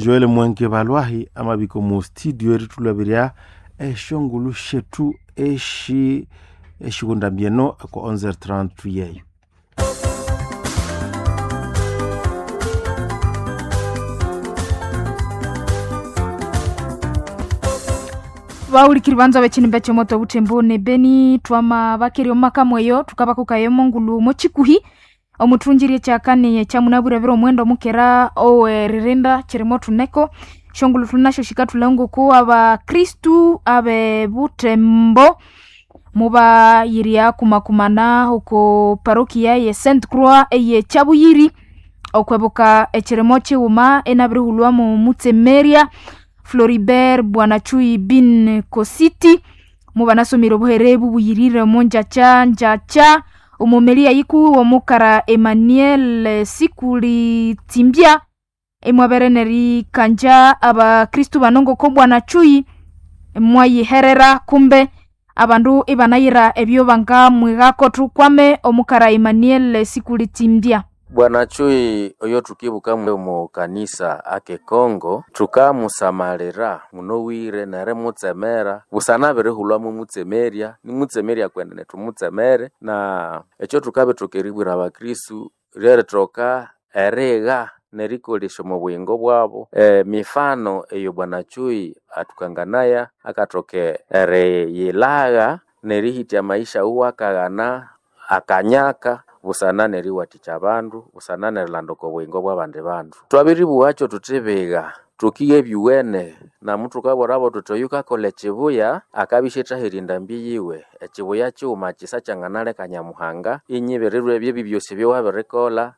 Joel Mwanke Balwahi amabiko mu studio eritulabirya eshongulu shetu eshi eshikundambieno ko 11:30 yeyo. Baulikiri banza bechinimba chomoto butembo ne beni twama bakiri omakamweyo tukabakukayo mongulu mochikuhi omuthungirie kyakane kyamunabwire omwendo mukera oweririnda kirimo thuneko shongulu thunasho shikathulha abakristu abe butembo mubayirya kumakumana oko parokia ye Saint Croix eye Kyabuyiri okwebuka ekirimo kighuma enabirihulwamu mutsemeria Floribert Bwanachui bin Kositi mubanasomire obuhere bubuyirire omonjacha njacha omumelia yiku omukara Emmanuel Sikuli Tsimbya emwabere nerikanja abakristu bano ngoko Bwanachui mwayiherera kumbe abandu ibanayira ebyo bangamwigako tukwame omukara Emmanuel Sikuli Tsimbya. Bwana Chui oyo tukibuka mu kanisa ake Kongo tukamusamalira munowire nere mutsemera busana birihulwamu mutsemeria nimutsemeria kwenda netumutsemere na ekyo tukabe tukeribwira abakristu ryeritoka erigha nerikolesha omu buyingo bwabo mifano eyo Bwana Chui atukanganaya akatoke eriyilagha nerihitya maisha uwo akaghana akanyaka busana neriwathikya abandu busana nerilanduka obuyingo bw'abandi bandu. Twabiribuwakyo thuthi biga tukiye ebyuwene namu thukabwirabo thuthi oyu kakolha ekibuya akabya isyathaherya endambi yiwe ekibuya kighuma kisa kyanganaleka Nyamuhanga inyibirirwa ebyo ebyo byosi ebyowabirikolha.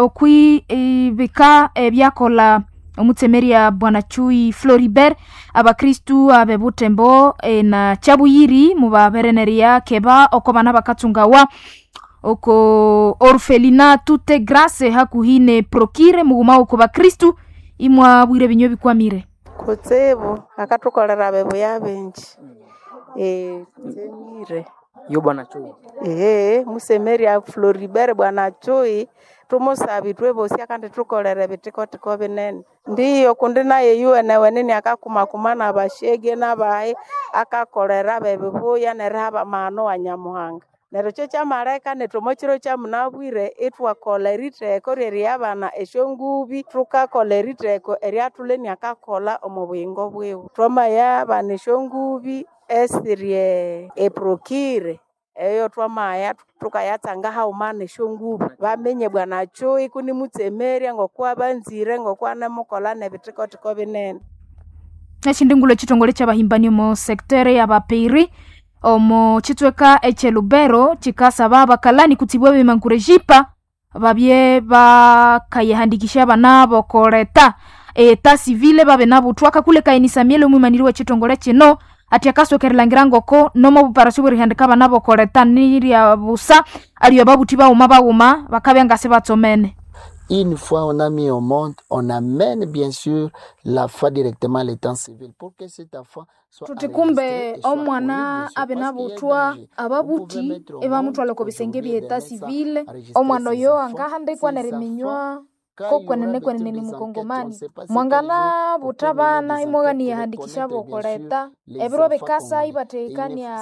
Okwibika ebyakolha omutsemeria Bwana Chui Floribert abakristu abe Butembo na Kyabuyiri mubabereneria keba oko bana bakatsungawa oko orfelina tute grace hakuhine prokire mughuma oko bakristu imwabwire binywe bikwamire kutsibu akathukolera abebuya bingi tsemire yo Bwana Chui ehe musemeria Floribert Bwana Chui tumusabi twebosi akandi thukolere bitikotiko binene ndiyo kundi naye yuwene akakumakuma nabashege nabayi akakolera bebibuya neriha bamahano wa Nyamuhanga neryo kyo kyamaleka nethu omo kiro kyamunabwire ithwakolha eritheko ryeriyabana esyongubi thukakolha eritheko eryathulheni akakolha omo buyingo bwiwe twamayabana esyongubi esiri eprokire eyo twamaya thukayatsanga haghuma nesyongubi bamenye Bwana Chui kuni mutsemerya ngokwa banzire ngokwa nemukolha nebithikotiko binene. Eshindi ngulu ekitongole kyabahimbani omo secteur y'abapeiri omo chitsweka ekyelubero chikasaba abakalani kutsibwa bemankurejipa babye bakayihandikisha abana bokoleta eta civile babe nabuthwa kakule kaini Samuel omwimaniri w'ekitongole kino ati akasokerelangira ngoko nomo buparasyo bwerihandika abana bokoleta nirya busa aliyo babuthi baghuma baghuma bakabya ngasi batsomene. Une fois on a mis au monde, on amène bien sûr la foi directement à l'état civil pour que cet enfant soit tuti kumbe omwana abe nabuthwa ababuthi ebamuthwala oko bisenge bye état civil omwana oyo angahandikwa neriminywa kokwenene kwenene ni mukongomani mwangana butha bana imwaghaniyahandikisha bokoleta ebiro bikasa ibathehekania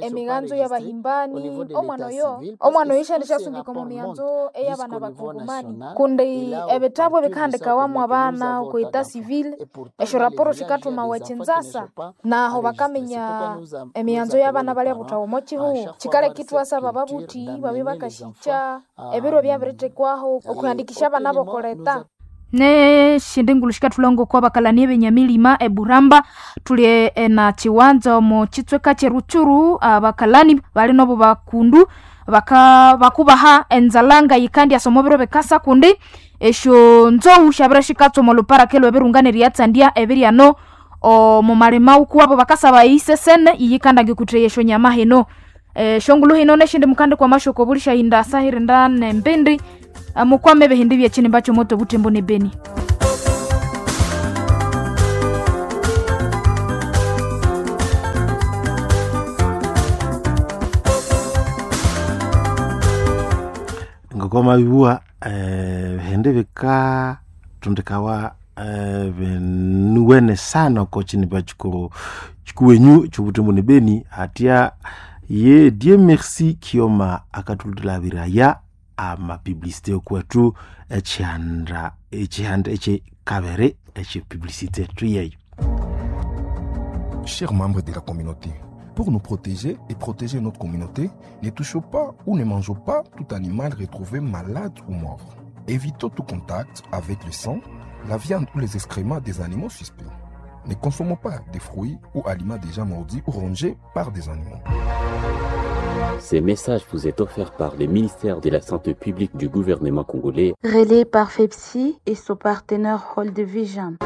emiganzo y'abahimbani omwana oyo ishandishasungika omu mianzo ey'abana bakongomani kundi ebitabu ebikahandikawamu abana oko état civil esyo raporo sikathumawa ekinzasa naho bakaminya emianzo y'abana balya buthawa omo kihugho kikaleka ithwasaba ababuthi babye bakashikya ebiro byabirithekwaho okuhandikisha abana bokoleta. Neshindi ngulu shikathulha ngoko abakalani ebenyamilima eburamba tuli na chiwanza omo chitsweka kyeruchuru abakalani bali nobo bakundu baka bakubaha enzalanga yikandi asoma biro bekasa kundi esyo nzou syabira shikatswa omo luparaka elwebirunga neryatsandya ebiryano omo malima ukuwabo bakasaba isesene iyikandanga ikutheya esyo nyama hino shongulu hino neshindi mukandi kwa mashoko bulishahinda asahirinda nembindi mukwame ebihindi byekinimba kyomoto butembo ne beni. Ngoko mabibuwa Bihende bikatondekawa binuwene sana oko kinimba kikuru kikuwenyu ky'obutembo ne Beni hatya ye Dieu merci Kioma akatulabiraya amapublicité okwethu ekihanda ekihanda ekyekabere ekyepublicité tuyeyo. Chers membres de la communauté, pour nous protéger et protéger notre communauté, ne touchons pas ou ne mangeons pas tout animal retrouvé malade ou mort. Évitons tout contact avec le sang, la viande ou les excréments des animaux suspects. Ne consommons pas des fruits ou aliments déjà mordus ou rongés par des animaux. Ce message vous est offert par le ministère de la Santé publique du gouvernement congolais. Relais par FEPSI et son partenaire Hold Vision.